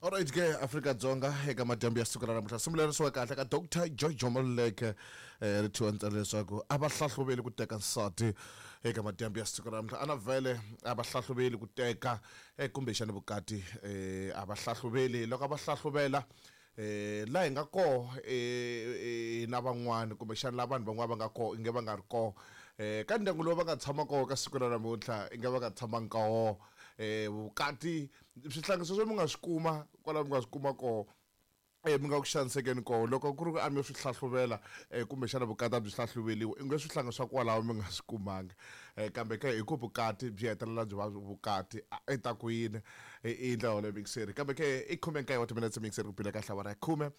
Alright ke Afrika-Dzonga eka madyambu ya siku ra namuntlha simulerisiwa kahle ka Dr George Moleke eh, ri thyiwa ntsena leswaku a va hlahluveli ku teka nsati eka madyambu ya siku ra namuntlha ana vhele a va hlahluveli ku teka eh, kumbexani vukati eh, a va hlahluveli loko a va hlahluvela eh, la hi nga koho eh, eh, na van'wani kumbexani la vanhu van'wana va nga koho inge va nga ri koho eh, ka ndyangu lowu va nga tshama koho ka siku ra namuntlha inge va nga tshamangi ka woho eh, vukati swihlangi sweswo mi nga swi kuma kwala mi nga swi kuma koho eh, mi nga ku xanisekeni koho loko ku ri ku a mi yo swi hlahluvela eh, kumbexana vukati a byi hlahluveliwa i nge swihlangi swa kwalaho mi nga swi kumanga eh, kambe ke hi ku vukati byi hetelela byi va vukati i ta ku yini i ndlela yoleyo mixeri kambe ke i khume nkaye wa timinetse mixeri ku bile kahle awara ya khume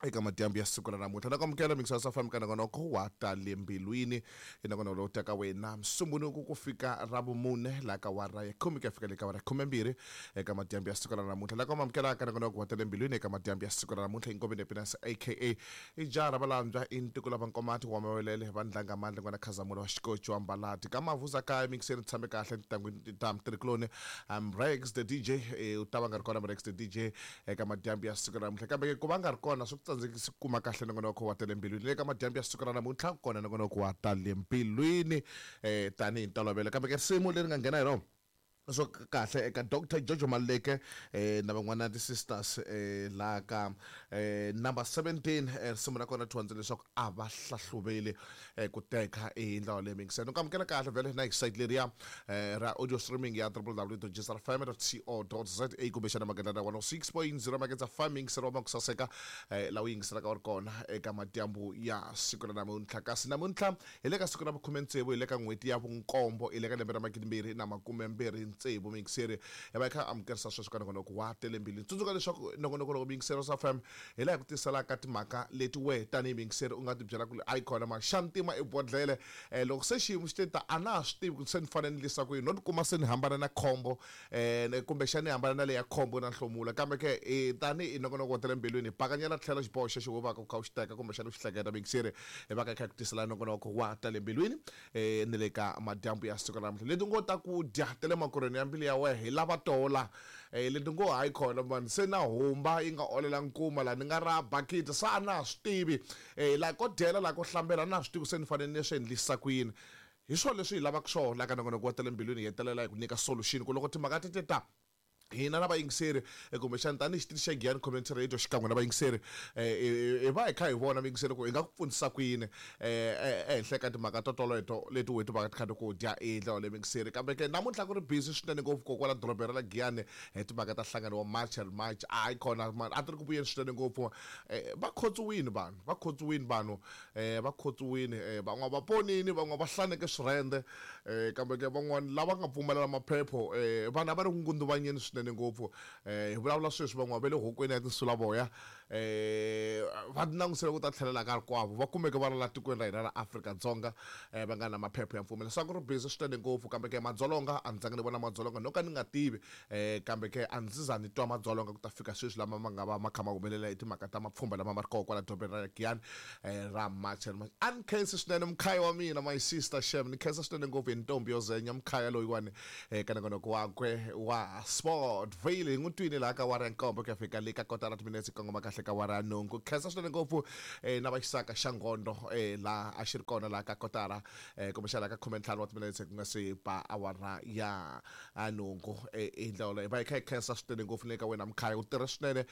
eka madyambu ya siku ra namuntlha na ku amukela mixer sa fami ka nongonoko wa ta le mbilwini i nongonoko lowu taka wena msumbhunuku ku fika ra vumune laha ka wara ya khume ku ya fika le ka wara ya khumembirhi eka madyambu ya siku ra namuntlha la ku amukelaka nongonoko wa ta le mbilwini eka madyambu ya siku ra namuntlha inkoveni happiness aka i jaha ra valandzwa i ntiko la vankomati wa mawelele va ndlanga mandla n'wana khazamula wa xikoci wa mbalati ka mavuza kaya mixeni tshame kahle ntangwini ta mtirhikuloni I'm Rex the DJ u ta va nga ri kona Rex the DJ eka madyambu ya siku ra namuntlha kambe ke ku va nga ri kona swi ku tsandzekisi ku kuma kahle nongonoko wa ta le mbilwini le ka madyambu ya siku ra namuntlha kona nongonoko wa ta le mbilwini um tanihi ntolovelo kambe ke risimu leri nga nghena hi rona swo kahle eka Dr Jojo Maluleke eh, na van'wana ti-sisters eh, laha ka eh, number 17 eh, risimu ra kona thondze leswaku a va hlahluveli eh, ku teka hi ndlela leyi mingiseni ku amukela kahle vhele na hi site leriya eh, ra audio streaming ya www.gsrfm.co.za kumbexana magandlana 106.0 magedza fm yingiselo wa makusaseka eh, laha u yingiselaka u ri kona eka madyambu ya siku ra namuntlha kasi namuntlha hi le ka siku ra vukhume tsevu hi le ka n'hweti ya vunkombo hi le ka lembe ra magidimbirhi na makume mbirhi tsevu miyingiseri hi va hi kha amukerisa sweswo ka nongonoko wa tele mbilwini tsundzuka leswaku nongonoko loko miyingiseri wa fm hi laha hi ku tiselaka timhaka leti wehe tanihi miyingiseri u nga ti byela ku a yi kona ma xa ntima i bodlele um loko se xiyimo xi te ta a na ha swi tivi ku se ni fanele ni lisa ku yini no tikuma se ni hambana na khombo um kumbexana ni hambana na leya khombo na nhlomula kambe ke tanihi nongonoko wa tele mbilwini hi bakanyela tlhelo xiboho xexo wo vaka u kha u xi teka kumbexana u xi hleketa miyingiseri hi va ka hi kha hi ku tisela nongonoko wa tale mbilwini um ni le ka madyambu ya siku ra namuntlha leti ngo ta ku dya ta le makorhweni ya mbilu ya wehe hi lava tola um leti ngo hayi khona mani se na humba yi nga olela nkuma laha ni nga ra bakiti se a na ha swi tivi um laha ko dyela laha ko hlambela a na ha swi tivi se ni fanele ni swi endlisa ku yini hi swona leswi hi lavaka swona laha ka nongonoko wa ta le mbilwini hi hetelela hi ku nyika solution ku loko timhaka ti te ta hina na vayingiseri eh, kumbexana tanihi xitichi xa Giyani Community Radio xikan'we na vayingiseri eh, hi va hi kha hi vona vayingiseri ku hi nga ku pfunisa ku yini eh, ehenhla ka timhaka to toleto leti weti va ti kha ti ku dya hi ndlela leyi vayingiseri kambe ke namuntlha ku ri busy swinene ngopfu kokwala dorobeni ra la Giyani hi timhaka ta nhlangano wa March and March hayi khona a ti ri ku vuyeni swinene ngopfu va khotsiwini vanhu va khotsiwini vanhu va khotsiwini van'wana va ponini van'wana va hlaneke swirhende Eh, kambe ke van'wana lava nga pfumelela maphepho eh, vanhu a va ri ku ngunduvanyeni swinene ngopfu eh, hi vulavula sweswi van'wana va le hokweni ya tinsulavoya eh, va langutisele ku ta tlhelela ka rikwavo va kumeke va ri la tikweni ra hina ra Afrika-Dzonga eh, va nga na maphepho ya mpfumelo se a ku ri busy swinene ngopfu kambe ke madzolonga a ni zangi ni vona madzolonga no ka ni nga tivi eh, kambe ke a ndzi za ni twa madzolonga ku ta fika sweswi lama ma nga va ma kha ma humelela hi timhaka ta mapfhumba lama ma ri koho kwala dorobeni ra Giyani eh, ra March and March a ni khensi swinene mkhaya wa mina my sister shem ni khensa swinene ngopfu hi ntombi yo zenya mkhaya loyiwani eh, ka nongonoko wakwe wa sport vale hi n'wi twini laha ka wara ya nkombo ku ya fika le ka kotara timinetse kongoma kahle ka wara ya nhungu khensa swinene ngopfu eh, na vaxisaka xa ngondo eh, laha a xi ri kona laha ka kotara eh, kumbexana ka khumentlhanu wa timinetse ku nga se ba awara ya a nhungu hi ndlela yoleyo va hi kha hi khensa swinene ngopfu le ka wena mkhaya u tirhe swinene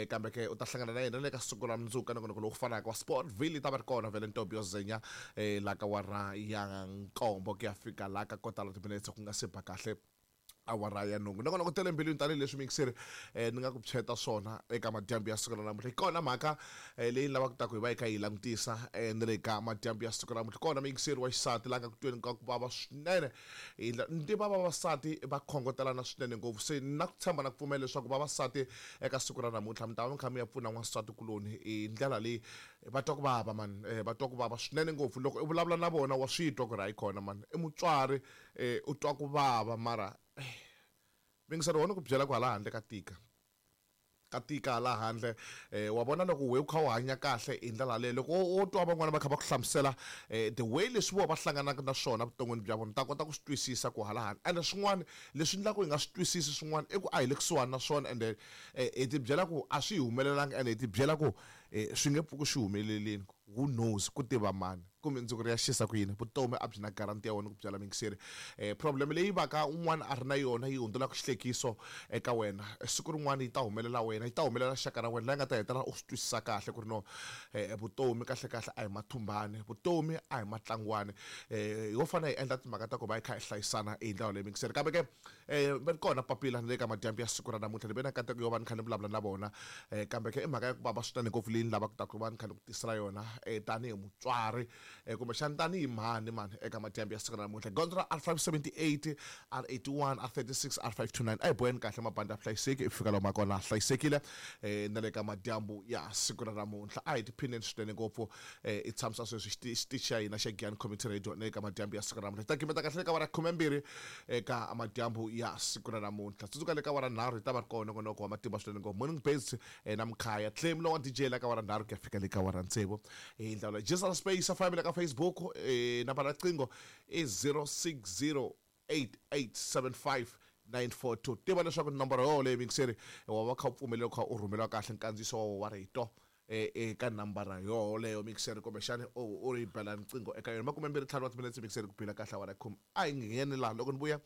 kambe ke u ta hlangana na yena le ka siku ra mundzuku ka nongonoko lowu fanaka wa Sportville yi ta va ri kona vhele ntombi yo zenya la ka wara ya nkombo ku ya fika la ka kotara timinetse ku nga se ba kahle awara ya nhungu nongonoko tele mbilwini tanihileswi mixeri ni nga ku phyeta swona eka madyambu ya siku ra namuntlha hi kona mhaka leyi ni lavaka ta ku hi va hi kha hi langutisa ni le ka madyambu ya siku ra namuntlha kona muyingiseri wa xisati la nga ku tweni ka ku vava swinene Hi ndlela ni tiva vavasati va khongotelana swinene ngopfu se ni na ku tshemba na ku pfumela leswaku vavasati eka siku ra namuntlha mi ta va mi kha mi ya pfuna n'wansati kuloni hi ndlela leyi va twa ku vava mani va twa ku vava swinene ngopfu loko i vulavula na vona wa swi twa ku ri hayi khona mani i mutswari u twa ku vava mara mingiselo wona ku byela ku hala handle ka tika. Ka tika hala handle. Wa vona loko we u kha u hanya kahle hi ndlela yaleyo, loko wo twa van'wana va kha va ku hlamusela the way leswi vona va hlanganaka na swona vuton'wini bya vona, u ta kota ku swi twisisa ku hala handle. Ende swin'wana leswi endlaka hi nga swi twisisi swin'wana i ku a hi le kusuhani na swona, ende hi ti byela ku a swi hi humelelanga, ende hi ti byela ku swi nge pfuki swi humelelini. Who knows, ku tiva mani? Ku mundzuku ri ya xisa ku yini? Vutomi a byi na guarantee ya wena ku byela muyingiseri. Problem leyi va ka un'wana a ri na yona yi hundzulaka xihlekiso eka wena, siku rin'wana yi ta humelela wena, yi ta humelela xaka ra wena, laha nga ta hetelela u swi twisisa kahle ku ri no vutomi kahlekahle a hi mathumbani, vutomi a hi matlangwani. Ho fanele hi endla timhaka ta ku va hi kha hi hlayisana hi ndlela leyi muyingiseri. Kambe ke va ri kona papila na le ka madyambu ya siku ra namuntlha, ni ve na nkateko yo va ni kha ni vulavula na vona. Kambe ke i mhaka ya ku vava swinene ngopfu leyi ni lavaka ku ta ku va ni kha ni ku tisela yona tanihi mutswari kumbexana tanihi mhani mani eka madyambu ya siku ra namuntlha. Gondzo ra R578, R81, R36, R529 a hi boheni kahle mabandi ya vuhlayiseki i fika lomu kona hlayisekile na le ka madyambu ya siku ra namuntlha. A hi tiphineni swinene ngopfu i tshamisa sweswi xitichi xa hina xa Giyani Community Radio na le ka madyambu ya siku ra namuntlha. Hi ta gimeta kahle le ka awara ya khumembirhi eka madyambu ya siku ra namuntlha. Tsundzuka le ka awara nharhu hi ta va ri kona nongonoko wa matimba swinene ngopfu, Morning Birds na Mkhaya Claim lowa DJ la ka awara nharhu ku ya fika le ka awara tsevu. Hi ndlela leyi Gisela Space FM le ka Facebook, nambara ya riqingho i 0608875942. Tiva leswaku nomboro yoleyo muyingiseri wa va kha u pfumeleriwa kha u rhumeriwa kahle nkandziyiso wa wa rito eka nambara yoleyo mixer, kumbexani u ri bela riqingho eka yona. 25 wa timinetse mixer ku bila kahle awara ya khume. A hi ngheni laha loko ni vuya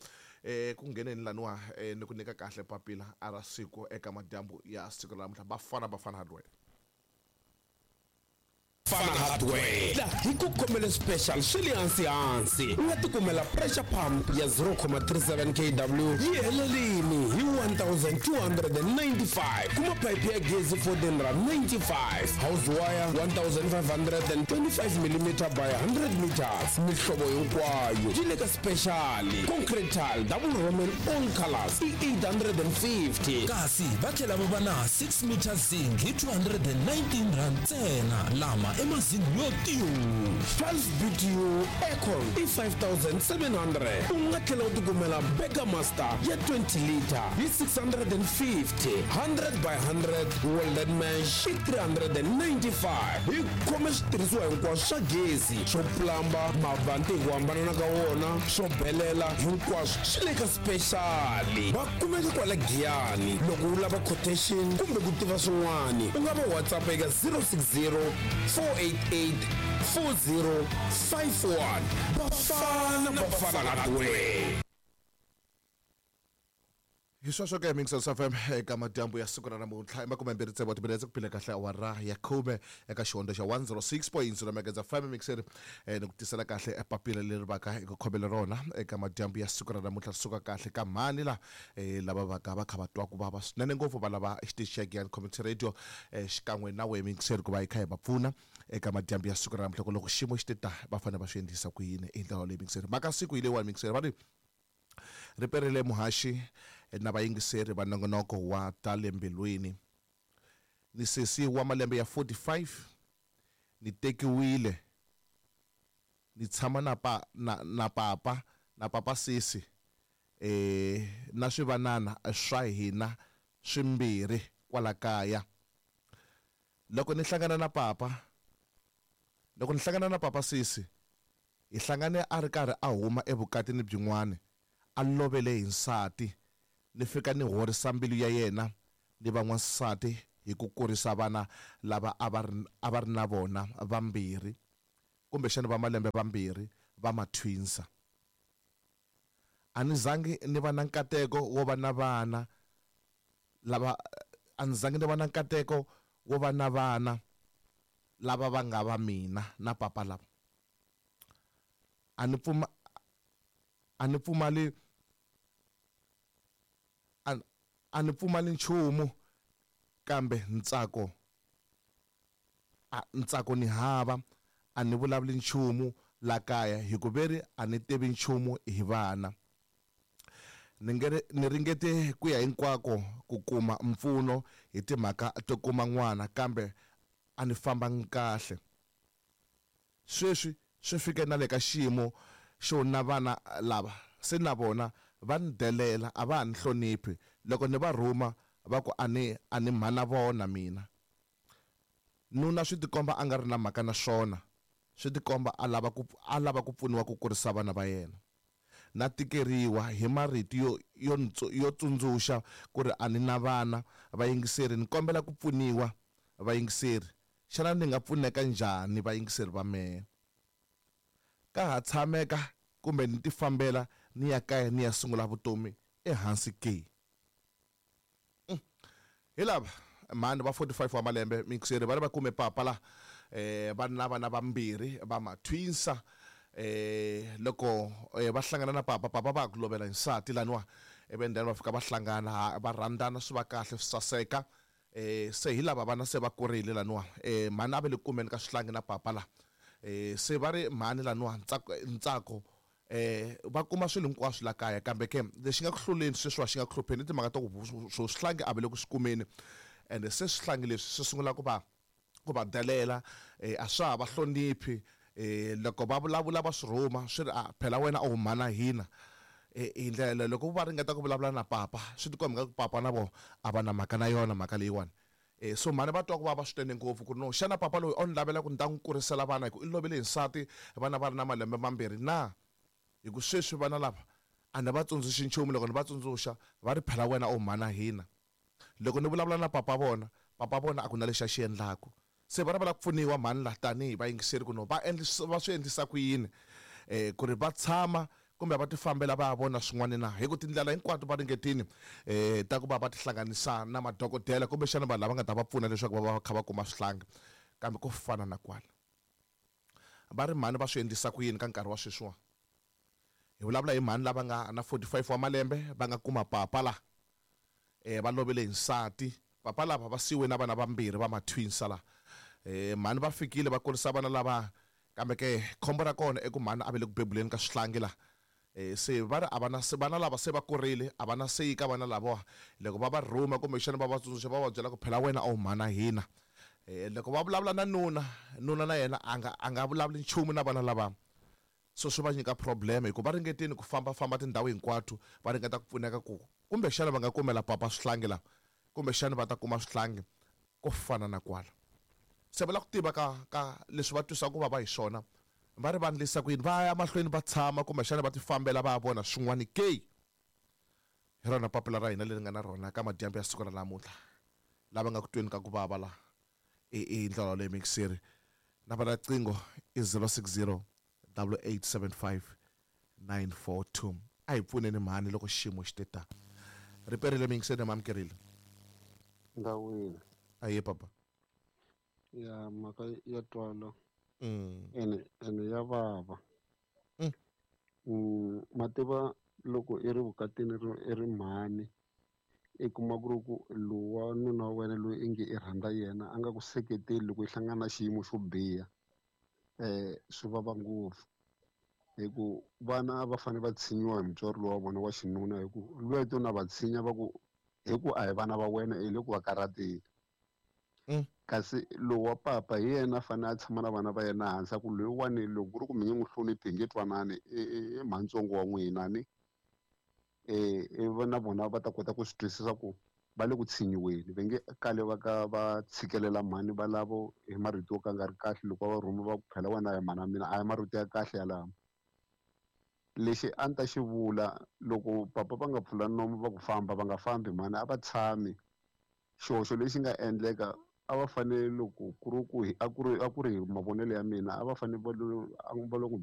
ku ngheneni laniwa ni ku nyika kahle papila a ra siku eka madyambu ya siku ra namuntlha. Bafana Bafana Hardware. Fana Hardware la hi ku khomele special swi le hansi hansi. U nga tikumela pressure pump ya 0,37 kW yi helelini hi 1295. Kuma phayiphi ya gezi 1495, house wire 1525 mm by 100 meters, mihlovo hinkwayo yi le ka special. Concrete tile double roman all colors i 850. Kasi va tlhela va va na 6 meter zinc hi 219 rand ntsena, lama i mazinc yo tiyu. 12 BTU aircon i 5700. U nga tlhela u tikumela Burger Master ya 20 liter hi 650, 100 by 100 welded mesh i 395. Hi khome switirhisiwa hinkwaswo swa gezi, swo plamba, mavanti hi ku hambanana ka wona, swo belela, hinkwaswo swi le ka special. Va kumeka kwala Giyani. Loko u lava quotation kumbe ku tiva swin'wana, u nga va WhatsApp eka 060 488 4051. Bafana Bafana Hardware. Hi sweswo ke Mixers FM eka madyambu ya siku ra namuntlha i makumembirhi tsevu wa timinetse ku phile kahle awara ya khume eka xihondzo xa 106.0 Megahertz FM Mixer ni ku tisela kahle papila leri vaka hi ku khomele rona eka madyambu ya siku ra namuntlha ri suka kahle ka mhani la lava vaka va kha va twa ku vava swinene ngopfu va lava xitichi xa Giyani Community Radio xikan'we na wehe Mixer ku va hi kha hi va pfuna eka madyambu ya siku ra namuntlha ku loko xiyimo xi te ta va fanele va swi endlisa ku yini hi ndlela leyi Mixer. Mhaka siku hi leyiwani Mixer va ri ri perile muhaxi na vayingiseri va nongonoko wa ta le mbilwini. Ni sesi wa malembe ya 45, ni tekiwile, ni tshama na pa, na, na papa, na papa sesi, na swivanana swa hina swimbirhi kwala kaya. Loko ni hlangana na papa, loko ni hlangana na papa sesi, hi hlangane a ri karhi a huma evukatini byin'wana, a lovele hi nsati. Ni fika ni horisa mbilu ya yena ni va n'wansati hi ku kurisa vana lava a va ri, a va ri na vona vambirhi, kumbexana va malembe vambirhi, va mathwinsa. A ni zangi ni va na nkateko wo va na vana lava, a ni zangi ni va na nkateko wo va na vana lava va nga va mina na papa lava. A ni pfuma, a ni pfumali, a, a ni pfumali nchumu, kambe ntsako, a, ntsako ni hava. A ni vulavuli nchumu la kaya, hi ku veri a ni tivi nchumu hi vana. Ni nge ni ringete ku ya hinkwako ku kuma mpfuno hi timhaka to kuma n'wana, kambe a ni fambangi kahle. Sweswi swi fike na le ka xiyimo xo na vana lava se na vona va ni delela, a va ha ni hloniphi. Loko ni va rhuma Va ku a ni mhana vona mina. Nuna swi tikomba a nga ri na mhaka na swona, swi tikomba a lava ku pfuniwa ku kurisa vana va yena. Na tikeriwa hi marito yo tsundzuxa ku ri a ni na vana. Vayingiseri, ni kombela ku pfuniwa. Vayingiseri, xana ni nga pfuneka njhani vayingiseri va mehe? Ka ha tshameka kumbe ni tifambela ni ya kaya ni ya sungula vutomi ehansi ke? Hi lava mhani va 45 wa malembe miyingiseri, va ri va kume papa la, va na vana vambirhi va matwinsa. Loko va hlangana na papa, papa va ku lovela hi nsati laniwa, ivi then va fika va hlangana, va rhandzana, swi va kahle, swi saseka. Se hi lava vana se va kurile laniwa, mhani a va le kumeni ka swihlangi na papa la. Se va ri mhani laniwa ntsako, va kuma swilo hinkwaswo la kaya, kambe ke lexi nga ku hluleni sweswiwa xi nga ku hlupheni i timhaka ta ku swo swihlangi a va le ku swi kumeni, ende se swihlangi leswi swi sungula ku va delela, a swa ha va hloniphi. Loko va vulavula va swi rhuma swi ri, a phela wena a wu mhana hina. Hi ndlela loko va ringeta ku vulavula na papa, swi tikomba nga ku papa na vona a va na mhaka na yona mhaka leyiwani. So mhani va twa ku vava swinene ngopfu ku ri no, xana papa loyi o ni lavela ku ni ta n'wi kurisela vana hi ku i lovile hi nsati vana va ri na malembe mambirhi na? Hi ku sweswi vana lava a ni va tsundzuxi nchumu, loko ni va tsundzuxa va ri phela wena u mhana hina. Loko ni vulavula na papa vona, papa vona a ku na lexi a xi endlaku. Se va lava ku pfuniwa mhani la tanihi vayingiseri ku no va va swi endlisa ku yini, ku ri va tshama kumbe va tifambela va ya vona swin'wana na? Hi ku tindlela hinkwato va ringetini ta ku va va tihlanganisa na madokodela kumbexana vanhu lava nga ta va pfuna leswaku va va kha va kuma swihlangi, kambe ko fana na kwala. Va ri mhani va swi endlisa ku yini ka nkarhi wa sweswiwa? Hi vulavula hi mhani lava nga na 45 wa malembe va nga kuma papa la, va lovele hi nsati. Papa lava va siyiwe na vana vambirhi va matwinsa la. Mhani va fikile va kurisa vana lava, kambe ke khombo ra kona i ku mhani a va le ku bebuleni ka swihlangi la. Se va ri a va na vana lava se va kurile, a va na seyi ka vana lavawa. Loko va va rhuma kumbexana va va tsundzuxa va va byela ku phela wena a wu mhana hina. Loko va vulavula na nuna, nuna na yena a nga vulavuli nchumu na vana lava. So swi va nyika problem hi ku va ringetini ku fambafamba tindhawu hinkwato, va ringeta ku pfuneka ku kumbexana va nga kumela papa swihlangi lava, kumbexana va ta kuma swihlangi ko fana na kwala. Se va lava ku tiva ka leswi va twisaka ku vava hi swona, va ri va endlisa ku yini, va ya mahlweni va tshama kumbexana va tifambela va ya vona swin'wana ke? Hi rona papila ra hina leri nga na rona ka madyambu ya siku ra namuntlha, lava nga ku tweni ka ku vava la i ndlela leyi mixeri. Nambara ya riqingho i 060 8875 942. A hi pfuneni mhani loko xiyimo xi te ta. Riperile mixeri na mamukerile. Ndawini. Aye papa. Ya mhaka ya twala. Ene ya vava. Mativa loko i ri vukatini i ri mhani, i kuma ku ri ku lowa nuna wa wena loyi i nge i rhandza yena a nga ku seketeli loko i hlangana na xiyimo xo biha, swi vava ngopfu. Hi ku vana va fanele va tshinyiwa hi mutswari lowa vona wa xinuna, hi ku lweto na va tshinya va ku hi ku a hi vana va wena, i le ku va karhateni. Kasi lowu wa papa hi yena a fanele a tshama na vana va yena hansi, a ku loyiwani loko ku ri ku mi nge n'wi hloniphi hi nge twanani, i mhantsongo wa n'wina ni. Na vona va ta kota ku swi twisisa ku va le ku tshinyiweni, va nge kale va ka va tshikelela mhani va lavo hi marito yo ka nga ri kahle loko va va rhuma va ku phela wena a hi mhana mina, a hi marito ya kahle yalamo. Lexi a ni ta xi vula, loko papa va nga pfula nomu va ku famba, va nga fambi mhani, a va tshami. Xihoxo lexi nga endleka, a va fanele loko ku ri ku hi, a ku ri, a ku ri hi mavonelo ya mina, a va fanele va lo, a va lo n'wi